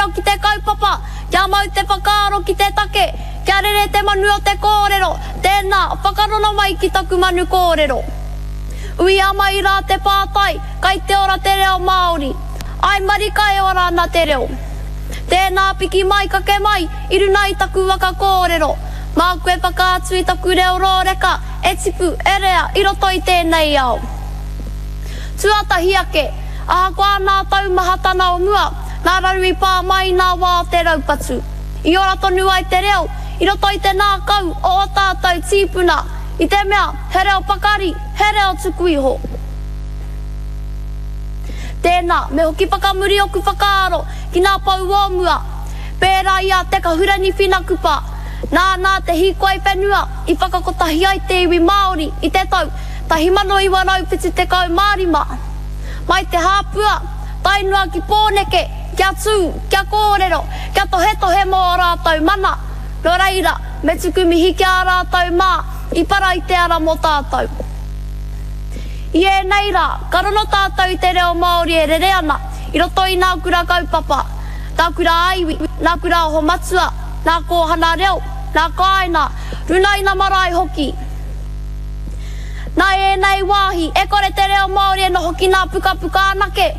kōrero ki te kaupapa, kia mau te whakaaro ki te take, kia rere te manu o te kōrero, tēnā, whakarono mai ki taku manu kōrero. Uia mai rā te pātai, kai te ora te reo Māori? Āe marika e ora ana te reo. Tēnā piki mai kake mai i runa i taku waka kōrero. Māku e whakaatu i taku reo rōreka e tipu, e rea i roto i tēnei ao. Tuatahi ake, ahakoa nā taumahatana o mua, nā raru i pā mai i nā wā o te raupatu, i ora tonu ai te reo i roto i te nākau o ō tātou tīpuna, i te mea he reo pakari, he reo tuku iho. Tēnā, me hoki whakamuri oku whakaaro ki nā pou o mua, pērā i a Te Kahurangi Whina Kupa, nānā te hīkoi whenua i whakakotahi ai te iwi Māori i te tau 1975. Mai Te Hāpua, tae noa ki Pōneke, kia tū, kia kōrero, kia tohetohe mō ō rātou mana, nō reira, me tuku mihi ki a rātou mā i para i te ara mō tātou. I ēnei rā, ka rono tātou i te reo Māori e rere ana i roto i nā kura kaupapa, nā kura ā-iwi, nā kura oho matua, nā kōhana reo, nā kāinga, runaina marae hoki. Nā ēnei wāhi, e kore te reo Māori e noho ki nā pukapuka anake.